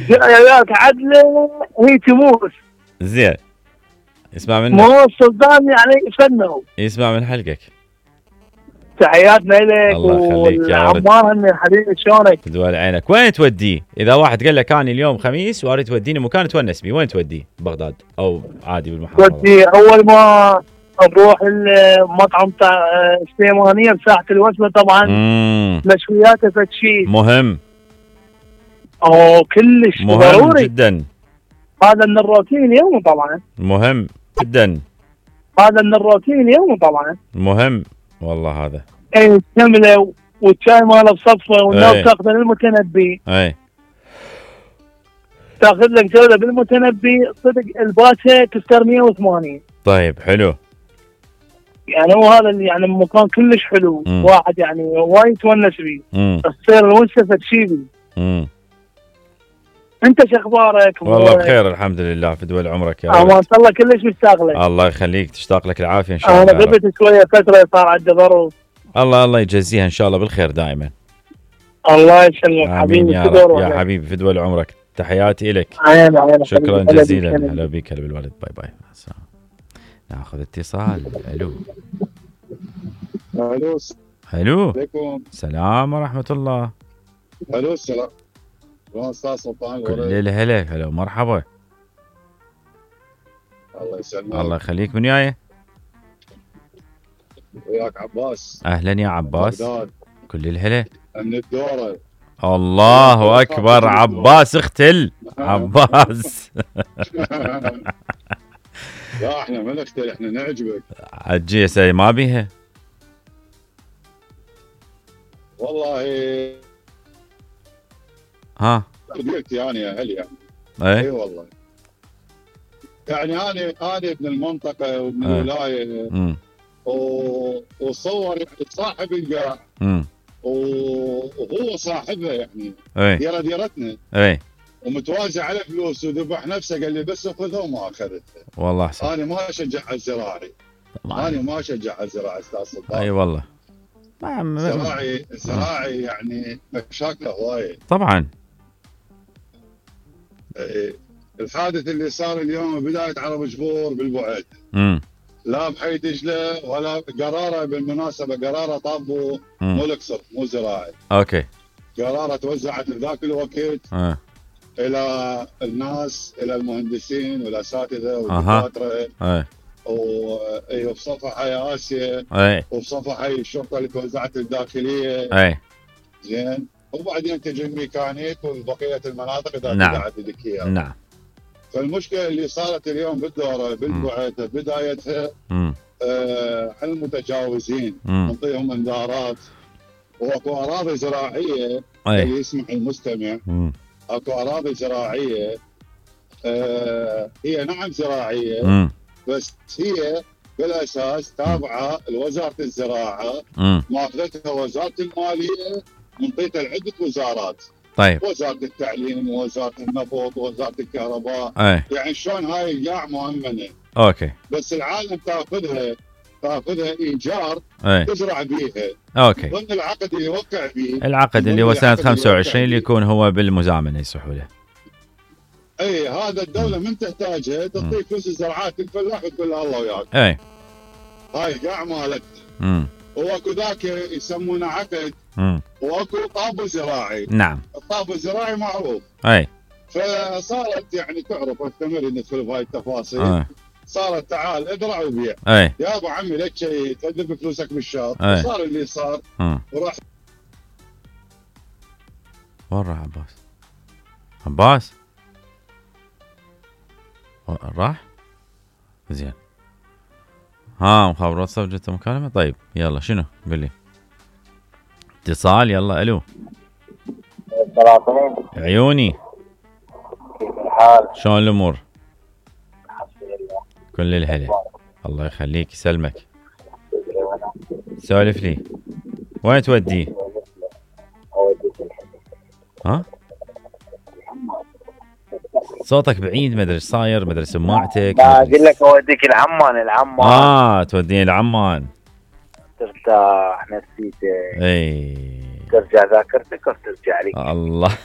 جايات عدله هي تموس. زين يسمع منك. مو السلطان يعني فنه. يسمع من حلقك. تحياتنا لك الله يخليك يا ولد. والعمار حبيبي شلونك؟ تدول عينك. وين توديه؟ اذا واحد قال لك اني اليوم خميس واريد توديني مكان تونس بيه، وين توديه؟ بغداد او عادي بالمحافظه؟ ودي اول ما نروح المطعم تاع سليمانيه بساحه الوسمه طبعا. مشوياته فتشي مهم. كلش مهم ضروري جدا. هذا من الروتين اليوم طبعا. مهم جدا. هذا من الروتين اليوم طبعا. مهم والله هذا. اي كمله والشاي ماله بصفه والناس تاخذ المتنبي. اي تاخذ لك جوله بالمتنبي صدق الباشا تفتر 180. طيب حلو. يعني هو هذا اللي يعني مكان كلش حلو. واحد يعني وايد يتونس بيه. تصير الونسه تشيبي. انت شو اخبارك؟ والله بخير الحمد لله. في دول عمرك يا رب. الله كلش مشتاق لك. الله يخليك. تشتاق لك العافيه ان شاء الله. انا غبت شويه فتره صار عندي ظروف. الله يجزيها ان شاء الله بالخير دائما. الله يسلمك حبيبي. يا رب يا حبيبي. في دول عمرك. تحياتي لك. شكرا جزيلا. هلا بك. هلا بالولد. باي باي. ناخذ اتصال. الو. الو. عليكم السلام ورحمه الله. الو السلام. استاذ سلطان. كل الهلا. هلا مرحبا. الله يسلمك. الله يخليك. من جاي؟ وياك عباس. اهلا يا عباس. بغداد. كل الهلا. من الدوره. الله اكبر. عباس اختل. عباس. لا احنا ما نختل. احنا نعجبك. عجيسه ما بيها والله. ها قلت يعني يا هل يعني. اي والله. يعني انا ابن المنطقه وابن الولايه. وصور صاحب القاع. وهو صاحبها يعني. ديره ديرتنا. اي ومتوازي على فلوس وذبح نفسه. قال لي بس خذها وما اخذتها. والله احسن. انا ما اشجع على الزراعي. انا ما اشجع على الزراعي استاذ سلطان. اي والله. الزراعي يعني مشاكله هوايه. طبعا. الحادث اللي صار اليوم بدايه عرب جبور بالبعد. لا بحي دجله ولا قراره. بالمناسبه قراره طابوا مو الاقصر مو زراعي. اوكي. قراره توزعت بذاك الوقت الى الناس، الى المهندسين والاساتذه والدكاتره. وبصفحه يا اسيا. وبصفحه الشرطه اللي توزعت الداخليه. زين. وبعدين تجي الميكانيك وبقيه المناطق اذا تبعت لك اياها. نعم. فالمشكله اللي صارت اليوم بالدوره بالبعث بدايتها على المتجاوزين نعطيهم انذارات. واكو اراضي زراعيه اللي يسمح المستمع. اكو اراضي زراعيه هي نعم زراعيه بس هي بالاساس تابعه لوزاره الزراعه. ماخذتها وزاره الماليه منطيتها لعده وزارات. طيب. وزاره التعليم ووزاره النفط ووزاره الكهرباء. يعني شلون هاي القاع مؤمنه. اوكي. بس العالم تاخذها ايجار. تزرع بيها. اوكي. ضمن العقد اللي يوقع فيه. العقد اللي هو سنه 25 اللي يكون هو بالمزامنه يصحوا له. اي هذا الدوله من تحتاجها تعطيك فلوس الزراعات الفلاح وتقول له الله وياك. اي هاي قاع مالك. واكو ذاك يسمونه عقد. واكو طابو زراعي. نعم. الطابو الزراعي معروف. اي. فصارت يعني تعرف استمر ندخل بهاي التفاصيل. صارت تعال ازرع وبيع. يا ابو عمي لك شيء تدفع فلوسك بالشهر. صار اللي صار. وراح. وين راح عباس؟ راح؟ زين. مخابرات سجلت مكالمة. طيب يلا شنو؟ قل لي. اتصال. يلا الو. السلام. عيوني. كيف الحال؟ شلون الامور؟ الحمد لله. كل الهلا. الله يخليك يسلمك. سولف لي. وين توديه؟ ها؟ صوتك بعيد ما ادري ايش صاير. ما ادري سماعتك. اقول لك اوديك العمان. توديني العمان. ترتاح نفسيتك. اي. ترجع ذاكرتك وترجع لك. الله